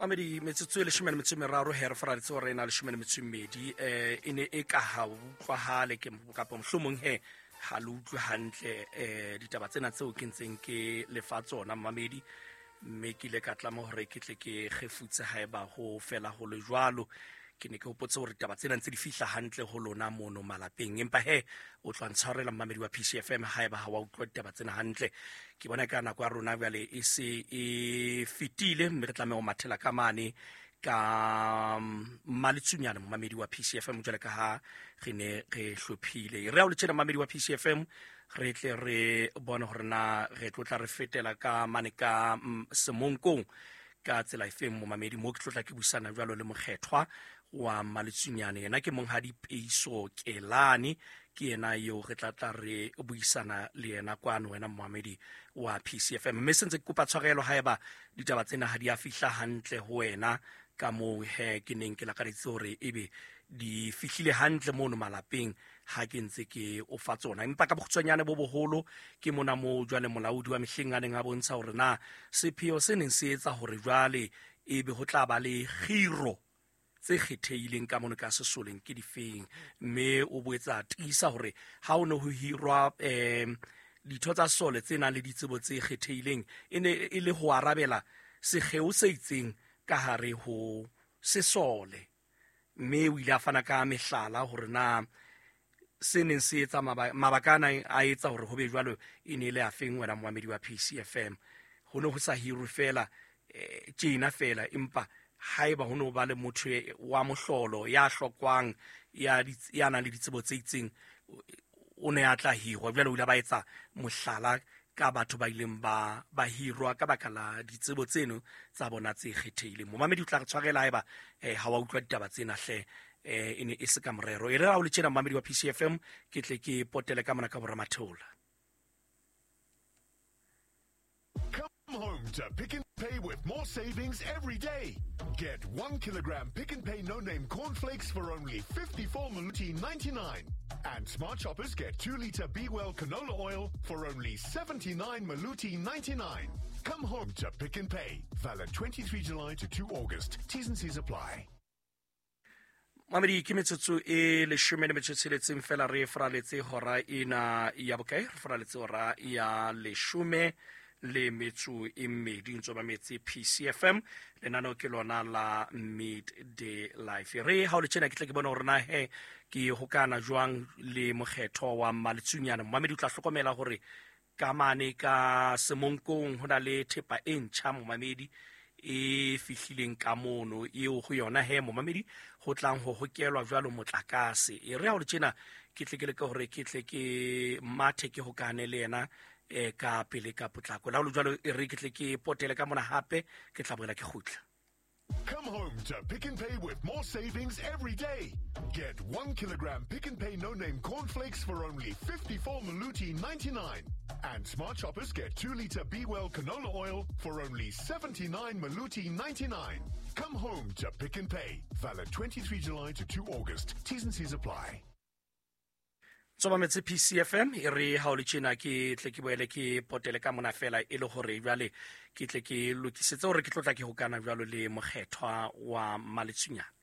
Mamedi, metsotso e 13 he re faraletse hore e na 12. E ne e ka ha utlwahale ke kapa mohlomong he ha le utlwe hantle ditaba tsena tseo ke ntseng ke lefa tsona mamedi, mme ke ile ka tlama hore ke tle ke kgefutse haeba ho fela ho le jwalo. Ke ne ke hopotse hore ditaba tsena ntse di fihla hantle ho lona mono malapeng, empa he o tla ntshwarela mmamedi wa PCFM haeba ha wa utlwa ditaba tsena hantle. Ke bona ka nako ya rona jwale e se e fetile, mme re tlameha ho mathela ka mane ka Mmaletsunyane momamedi wa PCFM jwale ka ha re ne re hlophile. Re a o le tjena mmamedi wa PCFM, re tle re bone hore na re tlo tla re fetela ka mane ka Semonkong ka tsela efeng momamedi, mo ke tlo tla ke buisana jwalo le mokgethwa wa Mmaletsunyane. Yena ke monghadi Peiso Kelane, ke yena eo re tla tla re buisana le yena kwano wena momamedi wa PCFM. Mme sentse ke kopa tshwarelo haeba ditaba tsena ha di a fihla hantle ho wena ka moo he ke neng ke lakaditse hore ebe di fihlile hantle mono malapeng ha ke ntse ke o fa tsona. Empa ka bokgutshwanyane bo boholo ke mona moo jwale molaodi wa mehleng a neng a bontsha hore na sepheo se neng se etsa hore jwale ebe ho tla ba le kgiro tse kgethehileng ka mono ka sesoleng ke difeng, mme o boetsa tiisa hore ha o ne ho hirwa ditho tsa sole tse nang le ditsebo tse kgethehileng e ne e le ho arabela sekgeo se itseng ka hare ho sesole. Mme o ile a fana ka mehlala hore na se neng se etsa mabaka ana a etsa hore ho be jwalo e ne e le afeng wena moamedi wa PCFM. Ho ne ho sa hirwe fela tjena fela, empa haeba ho no ba le motho wa mohlolo ya hlokwang ya nang le ditsebo tse itseng o ne a tla hirwa. Jwale o ile ba etsa mohlala ka batho ba ileng ba hirwa ka baka la ditsebo tseno tsa bona tse kgethehileng. Momamedi o tla re tshwarela haeba ha wa utlwa ditaba tsena hle, e ne e se ka morero. E re ha o le tjena momamedi wa PCFM, ke tle ke potele ka mona ka bora Matheola. Come home to Pick n Pay with more savings every day. Get 1 kilogram Pick n Pay No Name cornflakes for only 54.99. And smart shoppers get 2-liter Be Well canola oil for only 79.99. Come home to Pick n Pay. Valid 23 July to 2 August. T's and C's apply. Mamedi, ke metsotso e 16 fela re faraletse hora ena ya bokae? Re faraletse hora ya 12 ntso ba metse PCFM. Lenaneo ke lona la Midday Life. Re ha o le tjena ke tle ke bone hore na he ke hokana jwang le mokgetho wa Mmaletsunyane. Momamedi o tla hlokomela hore ka mane ka Semonkong ho na le thepa e ntjha momamedi e fihlileng ka mono, eo ho yona he momamedi ho tlang ho hokelwa jwalo motlakase. E re ha o le tjena ke tle ke leke hore ke tle ke mathe ke hokane le yena ka pele ka potlako. La ho le jwalo e re ke tle ke potele ka mona hape, ke tla boela ke kgutla. Come home to Pick n Pay with more savings every day. Get 1 kilogram Pick n Pay No Name cornflakes for only 54.99. And smart shoppers get 2-liter Be Well canola oil for only 79.99. Come home to Pick n Pay. Valid 23 July to 2 August. T's and C's apply. Tsoba metse PCFM e re ha o le tjena ke tle ke boele ke potele ka mona fela e le hore jwale ke tle ke lokisetse hore ke tlo tla ke hokana jwalo le mokgethwa wa Mmaletsunyane.